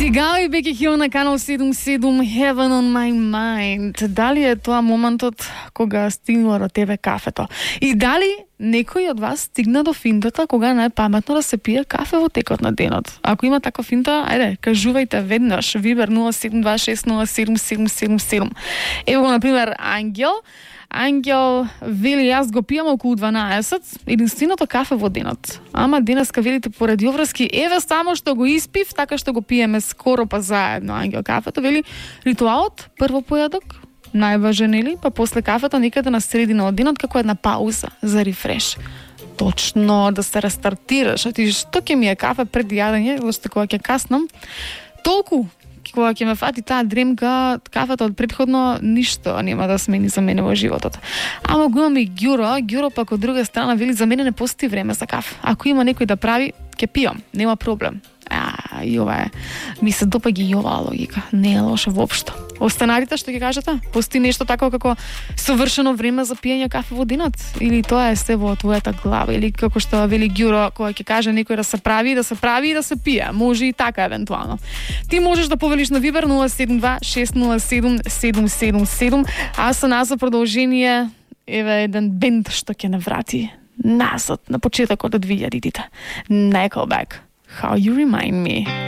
Kigali Becky Hill на Канал 77 Heaven on my mind. Дали е тоа моментот кога стигнува до тебе кафето? И дали некој од вас стигна до финтата кога најпаметно да се пие кафе во текот на денот? Ако има таква финта, ајде, кажувајте веднаш. Вибер 0726077777. Ево го, например, Ангел вели, јас го пијам околу 12, единственото кафе во денот. Ама денеска велите поради обврски, еве само што го испив, така што го пиеме скоро па заедно. Ангел кафето вели, ритуалот, прво појадок, најважен или, па после кафето некаде на средина од денот како една пауза за рефреш. Точно, да се рестартираш. А ти што ќе ми е кафе пред јадење, зашто кога ќе каснам, толку кога ќе ме фати таа дремка, кафето од претходно ништо нема да смени за мене во животот. Ама го имам и Ѓуро пак од друга страна вели, за мене не постои време за кафе. Ако има некој да прави, ќе пијам, нема проблем. И ова е, ми се допаѓа и оваа логика. Не е лошо воопшто. Останалите што ќе кажете? Постои нешто тако како совршено време за пиење кафе во денот? Или тоа е се во твојата глава? Или како што вели Ѓуро, кога ќе каже некој да се прави и да се пие? Може и така евентуално. Ти можеш да повелиш на Вибер 072-607-777. А со нас за продолжение еве еден бенд што ќе не врати назад на почетокот од 2000-тите. Nickelback. How You Remind Me.